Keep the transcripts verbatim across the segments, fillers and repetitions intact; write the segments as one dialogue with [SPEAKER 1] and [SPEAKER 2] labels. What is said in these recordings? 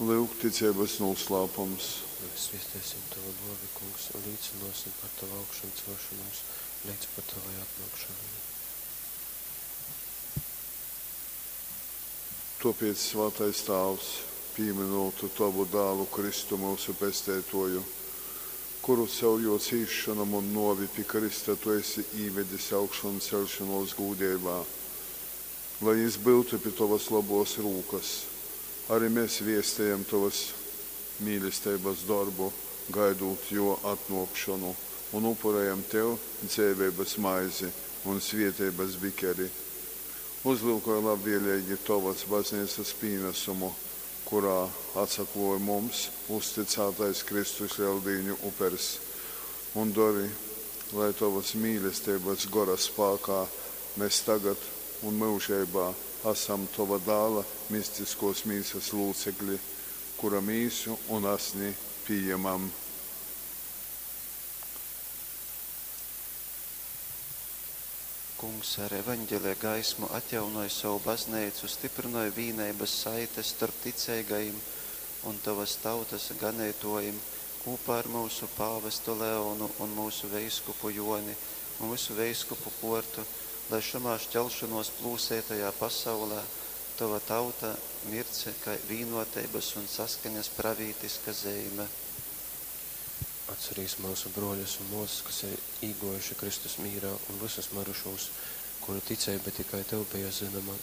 [SPEAKER 1] Lyuk ticeibas nūslāpums.
[SPEAKER 2] Mēs zviestēsim Tovu nōvi, Kungs, un līcynōsim par Tavu augšamcelšonūs leidz pat Tovai atnōkšonai.
[SPEAKER 1] Tōpēc, svātais Tāvs, pīmynūt Tovu Dālu Kristu myusu Pesteitōju, kuru caur Jō cīsšonom un nōvi pi krysta Tu esi īvedis augšanceļšonōs gūdeibā, lai Jys byutu pi Tovas lobōs rūkas, ari mes viestejam Tovas mīlesteibas dorbu, gaidūt Jō atnōkšonu, un upurejam Tev dzeiveibas maizi un svēteibas bikeri. Uzlyukoj labvēleigi Tovas Bazneicas pīnasumu, kurā atsaklōj mums uztycātais Kristus Leldīņu upers, un dori, lai Tovas mīlesteibas Gora spākā mes tagad un myužeibā asam Tova Dāla mistiskōs mīsas lūcekli, kura mīsu un asni pījemam.
[SPEAKER 3] Kungs, ar Evaņgelija gaismu atjaunoj sovu Bazneicu, styprynoj vīneibas saites storp ticeigajim un tovas tautas ganeitōjim kūpā ar myusu pāvestu Leonu un myusu veiskupu Jōni un vysu veiskupu kōrtu, lai šamā šķelšonōs plūseitajā pasaulē tova tauta mirdz kai vīnōteibas un saskaņas pravītiska zeime.
[SPEAKER 2] Atcerīs myusu brōļus un mōsas, kas ir īgōjuši Kristus mīrā, un vysus myrušūs, kuru ticeiba tikai Tev beja zynoma.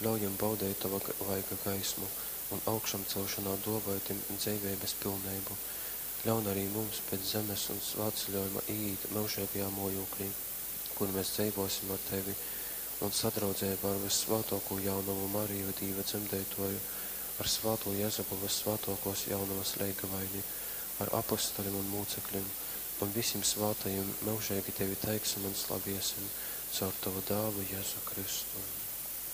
[SPEAKER 2] Ļauj jim baudeit Tova vaiga gaismu un augšamcelšonā dōvoj tim dzeiveibas pilneibu. Ļaun arī mums pēc zemes un svātceļōjuma īīt myužeigajā mōjūklī, kur mēs dzeivōsim ar Tevi un sadraudzeibā ar vyssvātōkū jaunovu Mariju, Dīva dzemdeitōju, ar svātū Jezupu, vyssvātōkōs jaunovas leigavaini, ar apostolim un mūceklim un visim svātajim myužeigi Tevi teiksim un slaviesim caur Tovu Dālu Jezu Kristu.